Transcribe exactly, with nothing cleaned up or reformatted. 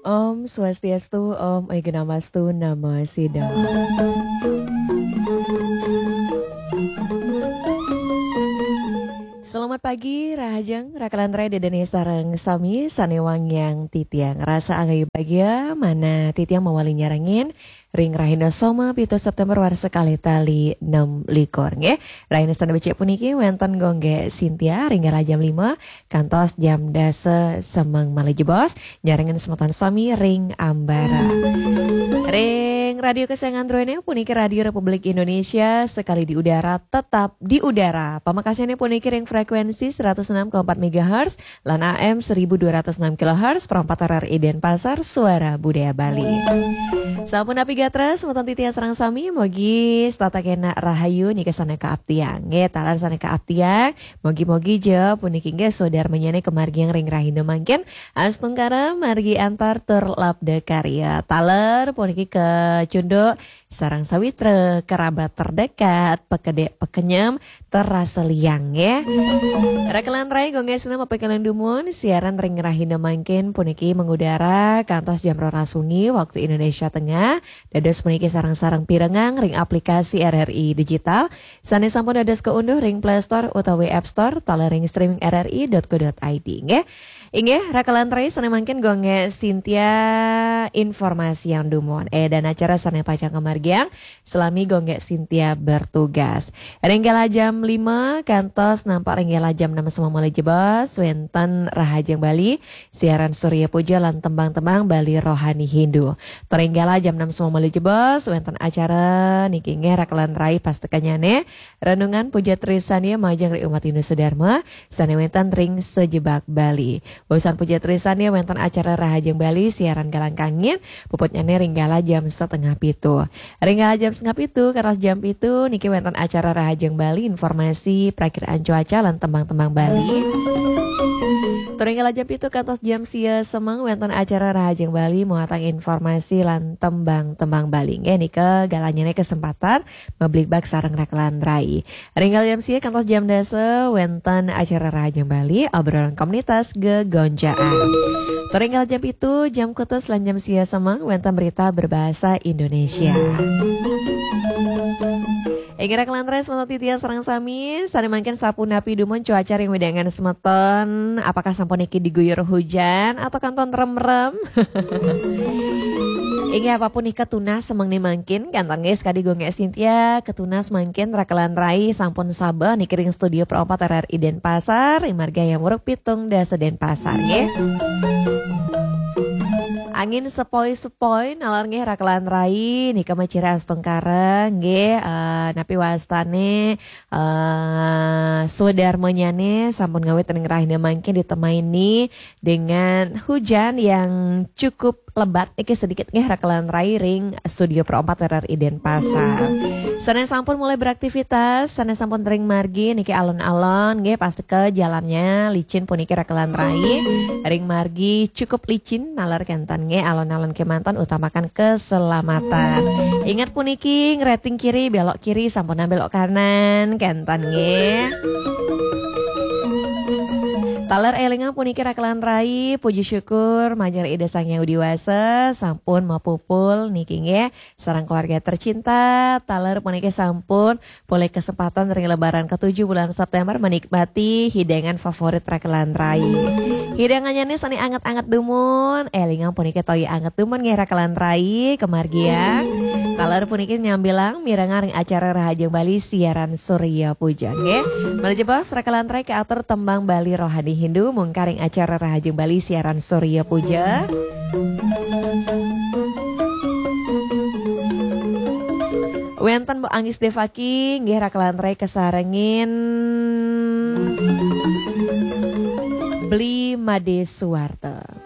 Om Swastiastu, Om Awighnamastu Namo Siddham. Selamat pagi, rahajeng, rakalan rai, Ida dané sareng sami sané wangiang titiang. Rasa anggayu bagia, manah titiang mawali nyarengin ring rahina Soma, pitu Séptémber warsa kalih tali nem likur, nggih. Rahina sané becik puniki wénten Gung Gék Sintia ring galah jam lima kantos jam dasa semeng malih jebos, nyarengin semeton sami ring ambara. Ring radio kesayangan druéné puniki Radio Republik Indonesia, sekali di udara, tetap di udara. Pamekasnyané puniki ring frekuensi seratus enam koma empat megahertz lan A M seribu dua ratus enam kilohertz, Pro empat R R I Denpasar, Suara Budaya Bali. Sampun napi gatra, semeton titiang sareng sami, mugi setata kénak rahayu nika sané kaaptiang. Nggih, taler sané kaaptiang, mugi-mugi ja puniki nggih swadarmanyané kamargiang ring rahina mangkin, astungkara margi antar tur labda karya. Taler puniki kacunduk sareng sawitra, kerabat terdekat, pekedék pekenyem, terasa liang, nggih. Rakalan rai, Gung Gék Sinta mapaikatan dumun, siaran ring rahina mangkin puniki mengudara kantos jam roras wengi waktu Indonesia Tengah. Dados puniki sareng-sareng pirengang ring aplikasi R R I Digital sané sampun dados kaunduh ring Play Store utawi App Store, taler ring streaming R R I dot co dot I D, nggih. Inggih, rakalan rai, sané mangkin Gung Gék Sintia informasiang dumun. Édan acara sané pacang kamargiang, salami Gung Gék Sintia bertugas. Ring galah jam lima kantos nampek ring galah jam enam semeng malih jebos, wénten Rahajeng Bali, siaran Surya Puja lan tembang-tembang Bali rohani Hindu. Tur ring galah jam enam semeng malih jebos, wénten acara niki nggih, rakalan rai, pastekanyané, renungan puja trisandya majeng ring umat Hindu sedharma sané wénten ring sajebag Bali. Wusan puja trisandya wénten acara Rahajeng Bali siaran galang kangin, puputnyané ring galah jam setengah pitu. Ring galah jam setengah pitu kantos jam pitu niki wénten acara Rahajeng Bali, informasi prakiraan cuaca lan tembang-tembang Bali. Tur ring galah jam pitu kantos jam sia semeng wénten acara Rahajeng Bali, muatang informasi lan tembang-tembang Bali. Nggih, nika galahnyané kesempatan mabligbagan sareng rakalan rai. Ring galah jam sia kantos jam dasa wénten acara Rahajeng Bali, obrolan komunitas gegonjaan. Tur ring galah jam pitu, jam kutus lan jam sia semeng wénten berita berbahasa Indonesia. Inggih, rakalan rai, semeton titiang sareng sami, sané mangkin sapunapi dumun cuaca ring wewidangan semeton? Apakah sampun niki diguyur hujan atau kantun remrem? Inggih, apapun nika tunas semeng né mangkin, kénten nggih, sakadi Gung Gék Sintia, katunas mangkin rakalan rai sampun sabeh niki ring studio Pro empat R R I Denpasar, ring Marga Hayam Wuruk pitung dasa Denpasar, nggih. Angin sepoi-sepoi nalar nggih, rakalan rai, nika maciri astungkara nggih, eh, napi wastané, eh, swadarmanyané sampun ngawit ring rahina mangkin ditemaini dengan hujan yang cukup lebat niki sedikit nggih, rakalan rai, ring studio Pro empat R R I Denpasar. Sané sampun mulai beraktivitas, sané sampun ring margi niki alon-alon nggih, pasteka jalannya licin puniki, rakalan rai. Ring margi cukup licin nalar, kénten nggih, alon-alon kémanten, utamakan keselamatan. Ingat puniki, ngreting kiri, belok kiri, sampunang belok kanan, kénten nggih. Taler élingang puniki, rakalan rai, puji syukur majeng Ida Sang Hyang Widhi Wasa sampun mapupul niki nggih sareng keluarga tercinta. Taler puniki sampun polih kesempatan ring Lebaran ketujuh bulan September menikmati hidangan favorit rakalan rai. Hidangannya nih sané anget-anget dumun, élingang puniki toya anget dumun nggih, rakalan rai, kamargiang. Taler puniki nyambilang mirengang ring acara Rahajeng Bali siaran Surya Puja nggih. Malih jebos rakalan rai, katur tembang Bali rohani Hindu mungkar ring acara Rahajeng Bali siaran Surya Puja. Wénten Mbok Anggis Devaki nggih, rakalan rai, kasarengin Bli Made Suwarta.